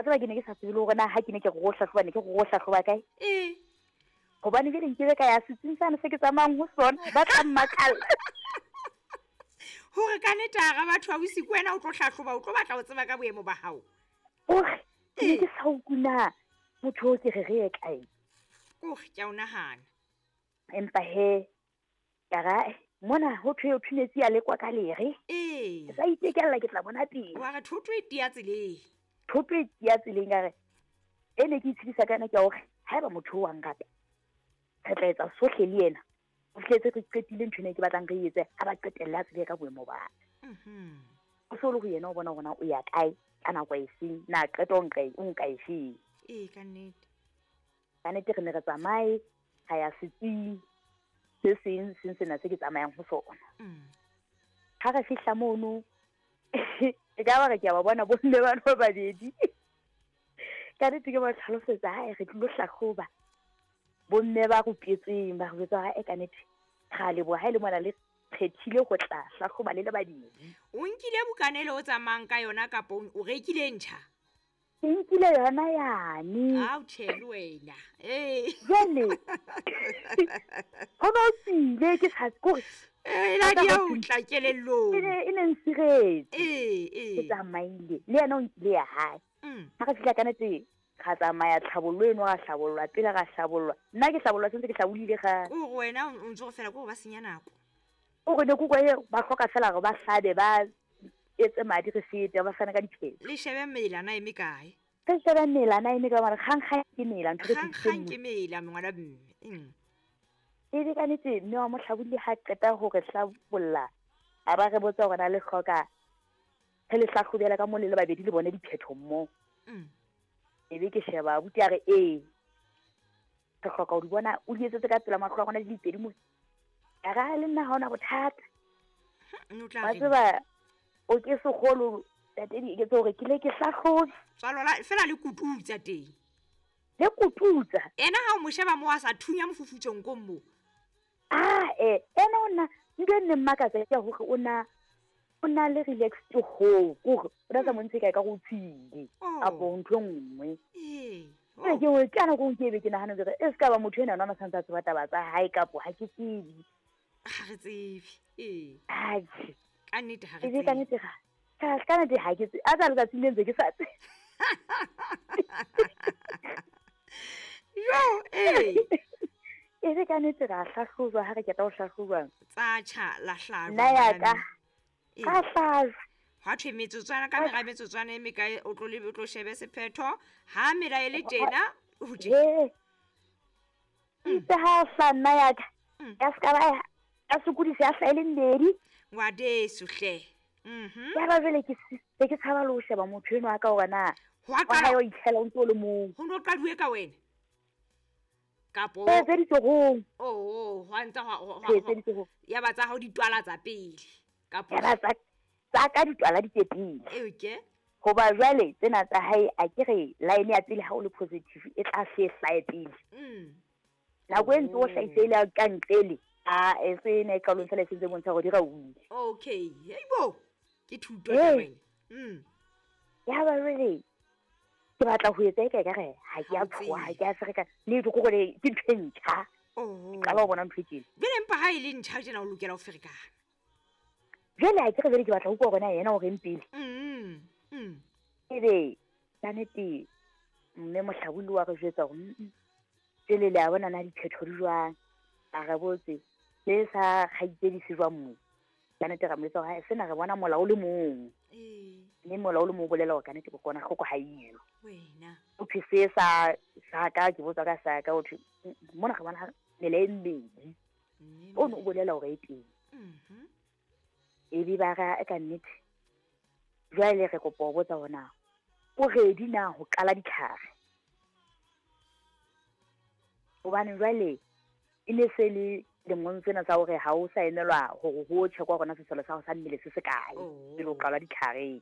A tseba ke ne ke sa tsebe le hore na ha ke ne ke re go hlahloba ne ke re go hlahloba kae. Ee. Gobane jale nkebe ka ya setsing sane se ke tsamayang ho sona, ba tla mmakalla. Hore ka nnete hara batho ausi ke wena o tlo hlahloba, o tlo batla ho tseba ka boemo ba hao. Hore ke ne ke sa utlwe na motho o ke re re ye kae. Kore ke a o nahana. Empa he ka ra mona ho thwe o thunetse ya lekwa ka lere. Ee. Ke sa itekella ke tla bona pele. Wa re thoto e tia tseleng. Thoto e tia tseleng ka re e ne ke itshedisa ka yona ke ya hore haeba motho o wa nrata re tla etsa sohle le yena. O fihletse re qetile ntho ena e ke batlang re etse ha ba qetelle a tsebe ka boemo ba ka. O se o le ho yena o bona hore na o ya kae ka nako e feng, na qeto o nka o nka e feng. Ee, ka nnete. Ka nnete re ne re tsamaye ra ya setsing se seng seng sena se ke tsamayang ho sona. Ha re fihla mono e ka ba re ke a ba bona bomme bana ba babedi. Ka nnete ke ba tlhalosetsa hae re tlilo hlahloba. Bomme ba rupetsweng ba re jwetsa hore e ka nnete ra leboha ha e le mona le kgethile ho tla hlahloba le le babedi. O nkile bukana ele o tsamayang ka yona kapa o rekile e ntjha? Ke nkile yona yane. Ao tjhe le wena. Ee. Jwale ho no tsile ke sa kore E la di o tla kelellong. E ne e ne nsiretse. Ee, ee. Ke tsamaile le yena o nkile ya hae. Ha re fihla ka nete ra tsamaya tlhabollo eno ra hlabollwa pele ra hlabollwa. Nna ke hlabollwa sentse ke hlabolile ga. Kore wena o ntse go fela kore ba senya nako. O re ne ke utlwa e ba hloka fela hore ba hlabe ba etse madi re fete ba fane ka diphetho. Le shebe mela na eme kae? Re shebe mela na eme kae mara kgang kgang ke mela ntho re Kgang kgang ke mela ngwana mme. E be ka nnete mme wa mohlabolli ha qeta ho re hlabolla a ba re botsa hore na le hloka re le hlahlobela ka mo le le babedi le bone diphetho mmo. E be ke sheba abuti a re ee re hloka ho di bona o di etsetse ka pela mahlo a rona di le pedi mo. Ka ra le nna ha ona bothata. Wa tseba o ke sekgolo tate di eketse hore ke le ke hlahlobe. Tswalo la fela le kututsa teng. Le kututsa. Ena ha o mo sheba mo a sa thunya mofufutsong ko mo. Ah eh ena o nna ntho e nne mmakatsa ke hore o na o na le relaxed ho kore o na sa montshe kae ka go tshile kapo ntho e nngwe. Ee. Ke ke ke ka nako ke be ke nahana hore e se ka ba motho ena nona santse a tseba taba tsa hae kapo ha ke tsebe. Ha re tsebe. Ee. Atjhe. Ka nnete ha re tsebe. Ka nnete ga. Ka nnete ha ke tsebe. A tsa letsatsi le ntse ke sa tsebe. Jo, ee. E be ka nnete ra hlahlojwa ha re qeta ho hlahlojwa. Tsa tjha la hlajwa. Nna ya ka. Ka hlajwa. Hwa thwe metsotswana ka mera metsotswana e mekae o tlo lebe o tlo shebe sephetho ha mela e le tjena ho tje. Ee. Itse ha hla nna ya ka. Ya ska ba ya sokodisa ya hla e le mmedi. Ngwadeso hle. Ya ba jwale ke se ke tshaba le ho sheba motho enwa ka hore na Ho a qala o itlhela o ntse o le mong. Ho no qaduwe ka wena. Kapo. Tse ditsohong. Oh, hwa ntsa hwa Tse ditsohong. Ya ba tsa hao ditwala tsa pele. Kapo. Ya ba tsa tsa ka ditwala di tse pele. Okay. Hoba jwale tsena tsa hae a ke re line ya pele ha o le positive e tla se hlae pele. Nako e ntse o hlahise ile ka ntlele a e se ne qalong fela e sentse bontsha hore di ra utlwe. Okay. Heibo. Ke thuto taba ena. Ya ba jwale ke batla ho etsa e ka re ha ke a tshoha ha ke a ferekana le ke gore ke ntho e ntjha. Oh. Qala ho bona ntho e tjena. Jwale empa ha e le ntjha tjena o lokela ho ferekana. Jwale ha ke re jwale ke batla ho utlwa hore na yena o reng pele. Ebe ka nnete mme mohlabolli wa re jwetsa hore jwale le a bona na diphetho di jwang. A re botse se sa kgaitsedi se jwang mo. Ka nnete ra mo jwetsa hore sena re bona mola o le mong. Mme mola o le mong o bolela hore ka nnete kokwanahloko ha eyo. Wena. O thwe se sa sa ka ke botsa ka sa ka o thwe mona re bona mela e mmedi. O no o bolela hore e teng. E be ba ra ka nnete. Jwale re kopa ho botsa hore na o ready na ho qala ditlhare. Hobane jwale e ne se le lemong tsena tsa hore ha o sa emelwa hore ho checkwa hore na sesole sa hao sa mmele se se kae pele o qala ditlhareng.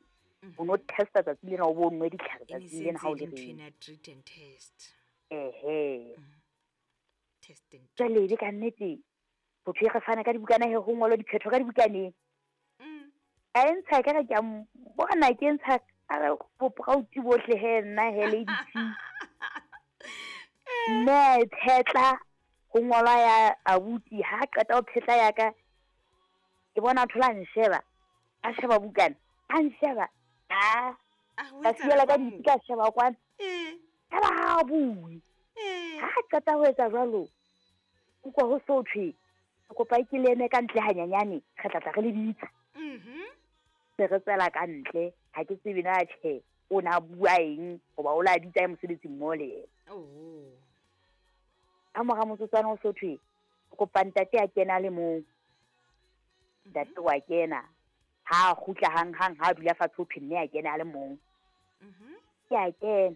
O no testa tsatsi lena o bo nwe ditlhare tsatsi lena ha o le ready. Treat and test. Ehe. Test and Jwale e ka nnete botho re fana ka dibukana he ho ngolwa diphetho ka dibukaneng. A e ntsha ka re ke a bona ke ntsha a re proud bohle he nna he Lady T. Mme a e phetla ho ngolwa ya abuti, ha qeta ho phetla ya ka ke bona a thola a nsheba, a sheba bukana, a nsheba, a ka siela ka ditsi ka sheba kwana. Ya ba ha a bue. Ha a qeta ho etsa jwalo, utlwa ho so thwe ke kopa ke le eme ka ntle hanyanyane, re tla tla re le bitsa. Se re tswela ka ntle, ha ke tsebe na tjhe o na bua eng hoba o la bitsa ya mosebetsi mmoho le yena. Ka mora motsotswana ho so thwe kopa ntate a kena le mong. Ntate wa kena, ha a kgutla hang hang, ha a dula fatshe ho thwe mme a kena a le mong. Ke a kena.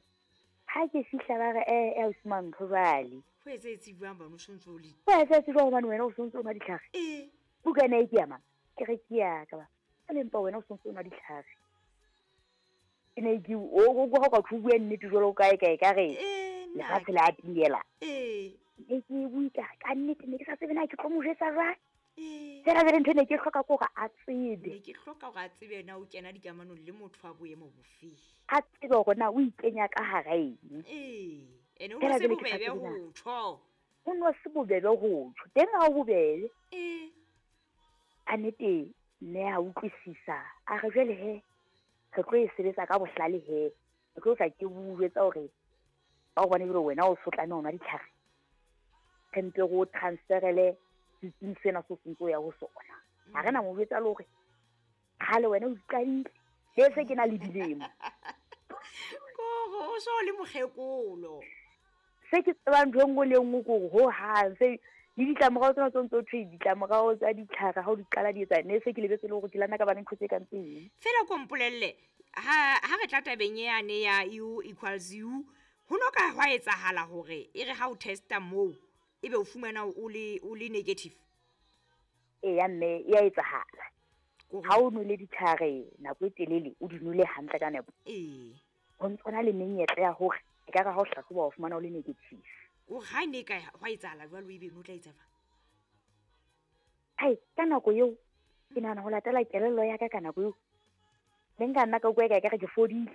Ha ke fihla ba re ausi Mantho jwale. Ho etsahetse jwang bana o sontso o le? Ho etsahetse jwang hobane wena o sontso o nwa ditlhare? Bukana e ke ya mang? Ke re ke ya ka ba. Jwale empa wena o sontso o nwa ditlhare. Ke ne ke o o ka tho bua nnete jwalo kae kae ka re lefatshe le a timela. Ne ke bue ka ka nnete ne ke sa tsebe na ke tlo mo jwetsa jwang. Fela jwale ntho e ne ke hloka ke hore a tsebe. Ne ke hloka hore a tsebe na o kena dikamanong le motho wa boemo bofe. A tsebe hore na o ikenya ka hara eng. Ene o no se bobebe ho tjho. O no se bobebe ho tjho. Teng ha o bobebe. A nnete mme a utlwisisa. A re jwale he re tlo e sebetsa ka bohlale he. Re tlo tla ke o jwetsa hore ka hobane jwale wena o so tlameha ho nwa ditlhare. Re mpe re o transferele setsing sena se sentse o ya ho sona. Ha re na mo jwetsa le hore kgale wena o iqadile. Le se ke na le dilemo. Kore o so le mokgekolo. Se ke tsebang ntho e nngwe le nngwe ke hore ho hang se le ditlamorao tsena tse ntse ho thwe ditlamorao tsa ditlhare ha o di qala di etsa, ne se ke lebetse le hore ke lana ka bana ntho tse kang tseng. Fela ko mpolelle ha re tla tabeng yane ya U equals U, ho no ka hwa etsahala hore e re ha o testa moo ebe o fumana o le negative? Eya mme e a etsahala. Ha o nwele ditlhare nako e telele, o di nwele hantle ka nepo. Ho ntso na le menyetla ya hore e ka re ha o hlahloba o fumana o le negative. O ha ne ka hwa etsahala jwalo ebe no tla etsa jwang? Ai, ka nako eo ke nahana ho latela kelello ya ka ka nako eo. Ne nka nna ka utlwa eka ekare ke fodile.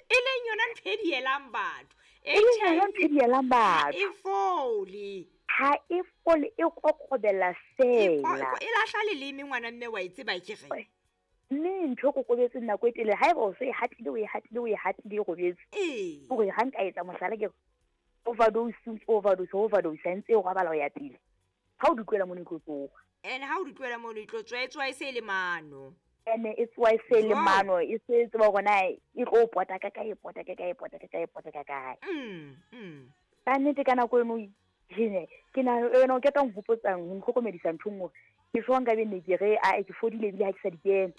E leng yona ntho e dielang batho. E leng yona ntho e dielang batho. E fole. Ha e fole, e kokobela fela. E lahla leleme ngwana mme wa e tseba ke re. Mme ntho e kokobetseng nako e telele, haeba o so e hatile, o e hatile, o e hatile, e robetse. Hore ha nka etsa mohlala ke re, overdose, overdose, overdose, ha ntse e robala ho ya pele. Ha o di tlohela mono e tlo tsoha. Ene ha o di tlohela mono e tlo tswa, e tswa e se le mano. Ene e tswa e se le mano, e se tseba hore na e tlo pota ka kae, e pota ka kae, e pota ka kae, e pota ka kae. Ka nnete ka nako eno ke na wena o keta nhopotsang, ho ntlhokomedisa ntho nngwe. Ke jwang ka be ne ke re a ke fodile ebile ha ke sa di kena.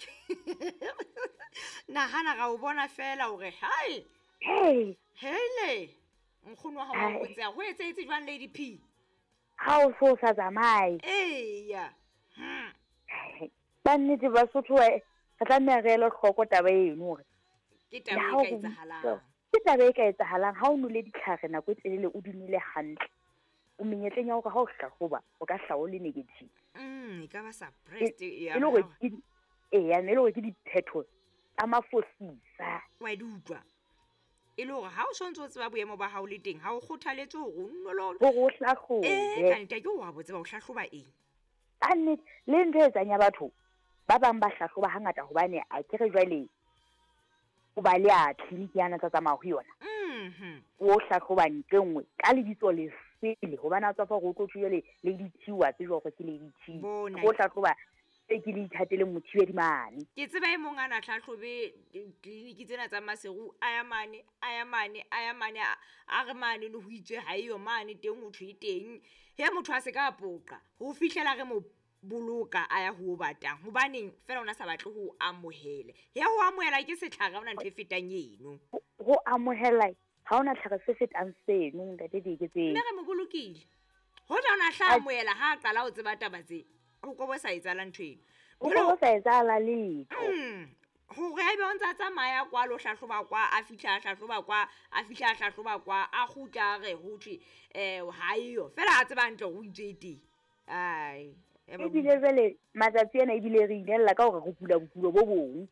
Nahana ra o bona fela hore hai. Hey. Hele. Nkgono wa hao o botsa ho etsahetse jwang Lady P? Ha o so sa tsamaye. Eya. Ba nnete Basotho re tlameha re ele hloko taba eno hore ke taba e ka etsahalang. Ke taba e ka etsahalang ha o nwele ditlhare nako e telele o di nwele hantle. O menyetleng ya hore ha o hlahloba o ka hlaha o le negative. E ka ba suppressed e le hore ke eya, e le hore ke diphetho tsa mafosisa. Wa di utlwa. E le hore ha o sontso o tseba boemo ba hao le teng, ha o kgothaletse hore o nno hore o hlahlobe. Ka nnete ke wa bo tseba o hlahloba eng. Ka nnete le ntho e etsang ya batho ba bang ba hlahloba hangata hobane a ke re jwale o ba le a tleliniki yana tsa tsamaya ho yona. O hlahloba ntho e nngwe ka lebitso le sele hobane a tswa fa hore o tlo thwe jwale Lady T wa tsejwa hore ke Lady T. O hlahloba se ke le ithatele mothibedi mane. Ke tseba e mong a na hlahlobe tleliniki tsena tsa Maseru, a ya mane, a ya mane, a ya mane, a re mane no ho itswe ha eyo mane teng ho thwe teng. He motho a se ka poqa ho fihlela re mo boloka a ya ho batang hobaneng fela ona sa batle ho amohela. Ya ho amohela ke setlhare ha ona ntho e fetang eno. Ho amohela ha ona tlhare se fetang seno ntate Dieketseng. Mme re mo bolokile. Hoja ona hla amohela ha a qala ho tseba taba tse. Ho ko bo sa etsahala ntho eno. Ho ko bo sa etsahala letho. Hore haebe o ntse a tsamaya kwa lo hlahloba kwa, a fihla a hlahloba kwa, a fihla a hlahloba kwa, a kgutla a re ho thwe ha eyo. Fela a tseba hantle hore o itswe e teng. Ai. Ebile jwale matsatsi ana ebile re inella ka hore re kula bokulo bo bong.